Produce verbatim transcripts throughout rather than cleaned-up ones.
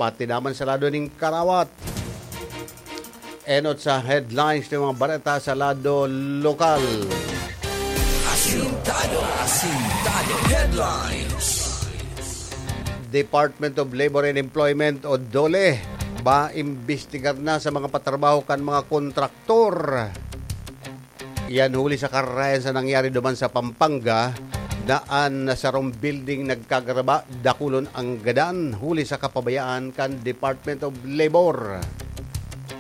pati naman sa lado ning Karawat. Enot sa headlines ng mga bareta sa lado lokal. Asintado, asintado. Headlines. Department of Labor and Employment o DOLE, maimbestigar na sa mga patrabaho kan mga kontraktor. Yan huli sa kararayan sa nangyari duman sa Pampanga, na an sarong building nagkagaraba, dakulon ang gadan huli sa kapabayaan kan Department of Labor.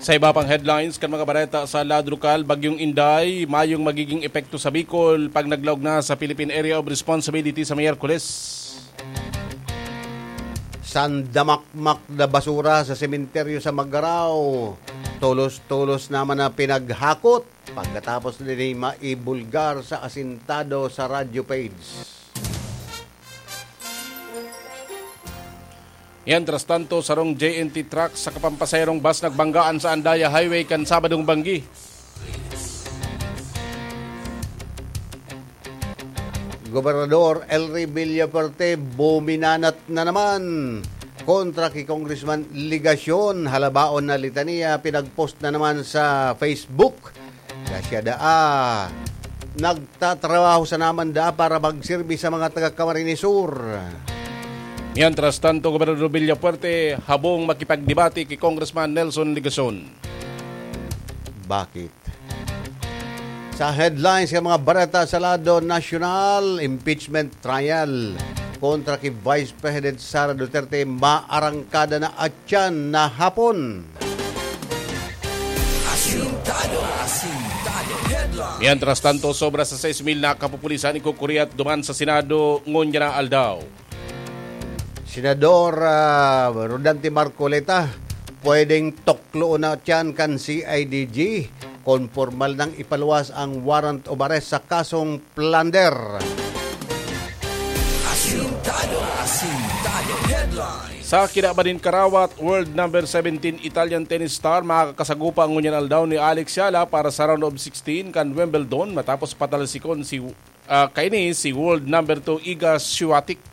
Sa iba pang headlines kan mga bareta sa lado lokal, Bagyong Inday, mayong magiging epekto sa Bicol pag naglaog na sa Philippine Area of Responsibility sa Miyerkules. Sandamakmak na basura sa sementeryo sa Magarao. Tolos-tolos naman na pinaghakot. Pagkatapos din maibulgar sa asintado sa radyo page. Mientras tanto, sarong J N T truck sa kapampasaherong bus nagbanggaan sa Andaya Highway kan Sabadong banggi. Gobernador Elry Villafuerte buminanat na naman kontra ki Congressman Legacion. Halabaon na litanya, pinagpost na naman sa Facebook na siya daa nagtatrabaho sa naman daa para magsirbi sa mga taga Camarines Sur. Mientras tanto, Gobernador Villafuerte habong makipagdebate ki Congressman Nelson Legacion. Bakit? Sa headlines ng mga bareta sa lado nasyonal, impeachment trial kontra ki Vice President Sara Duterte, maarangkada na atyan na hapon. Asintado, asintado. Headline. Mientras tanto, sobra sa sais mil na kapupulisan ikukuriat duman sa Senado ngunyan na aldaw. Senador, ah, Rodante Marcoleta, pwedeng tukloon na tiyan kan C I D G kon pormal nang ipaluwas ang warrant of arrest sa kasong plunder. Asintado, asintado. Headline. Sa kinaban nin Karawat, world number seventeen Italian tennis star makakasagupa ngunyan aldaw ni Alex Yala para sa round of sixteen kan Wimbledon matapos patalsikon si, ah, kaini si world number two Iga Swiatek.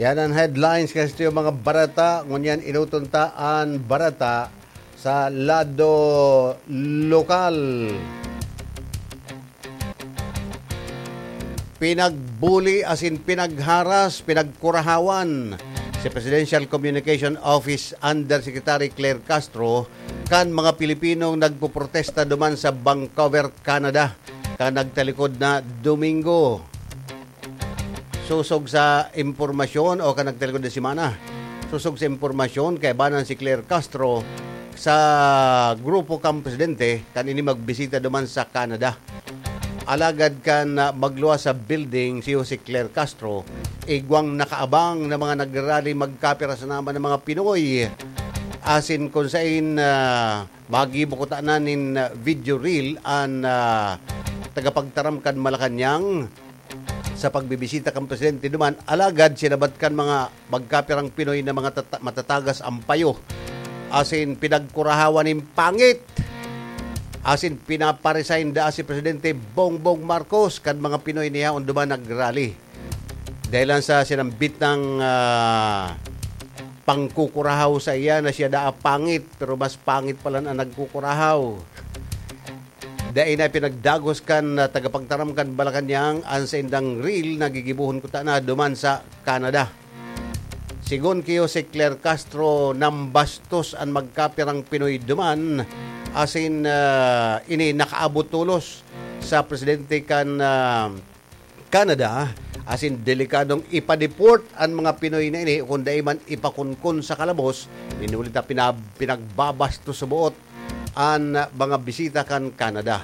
Yan an headlines kan satuyang mga bareta. Ngunyan, enoton ta an bareta sa lado lokal. Pinagbuli asin pinagharas, pinagkurahawan si Presidential Communication Office Undersecretary Claire Castro kan mga Pilipinong nagpoprotesta duman sa Vancouver, Canada, kan nagtalikod na Domingo. Sosog sa impormasyon o kan nagtalikod na semana, sosog sa impormasyon, kaibanan si Claire Castro sa grupo kan presidente kan ini magbisita duman sa Canada. Alagad kan, ah, magluwas sa building si Jose Claire Castro, igwang nakaabang na mga nagrarally magkapira sa naman ng mga Pinoy. Asin kung sain, ah, magibo ko tanan nin, ah, video reel an, ah, tagapagtaram kan Malacañang sa pagbibisita kan presidente duman, alagad sinabat kan mga magkapirang Pinoy na mga tata-, matatagas ang payo, asin pinagkurahawan nin pangit, asin pinaparesign daa si Presidente Bongbong Marcos kan mga Pinoy na yaon duman nagrally. Dahil lang sa sinambit ng, ah, pangkukurahaw sa iya na siya daa pangit, pero mas pangit pala ang nagkukurahaw. Dai na pinagdagos kan, ah, tagapagtaram kan Malacañang an saindang reel na gigibohon kuta na duman sa Canada. Sigon ki Jose Claire Castro, nambastos an magkapirang Pinoy duman, asin, ah, ini nakaabot tolos sa presidente kan, ah, Canada, asin delikadong ipa-deport an mga Pinoy na ini o kung dai man ipakunkon sa kalabos, inulit na pinab-, pinagbabastos sa buot an mga bisita kan Canada.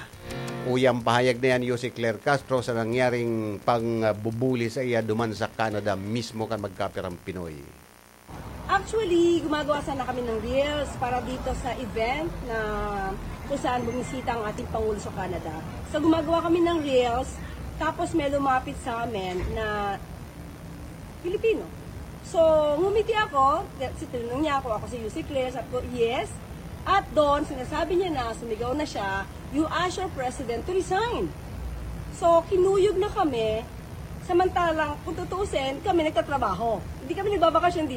Uyang pahayag na yan, Jose Claire Castro, sa nangyaring pangbubuli sa iya duman sa Canada mismo kan magkapirang Pinoy. Actually, gumagawa sana kami ng reels para dito sa event na kung saan bumisita ang ating Pangulo sa Canada. So, gumagawa kami ng reels, tapos may lumapit sa amin na Pilipino. So, ngumiti ako, kasi tinanong niya ako, ako si Jose Claire, sabi ko, "Yes." At doon, sinasabi niya na, sumigaw na siya, "You ask your president to resign." So, kinuyog na kami, samantalang, kung tutuusin, kami nagtatrabaho. Hindi kami nagbabakasyon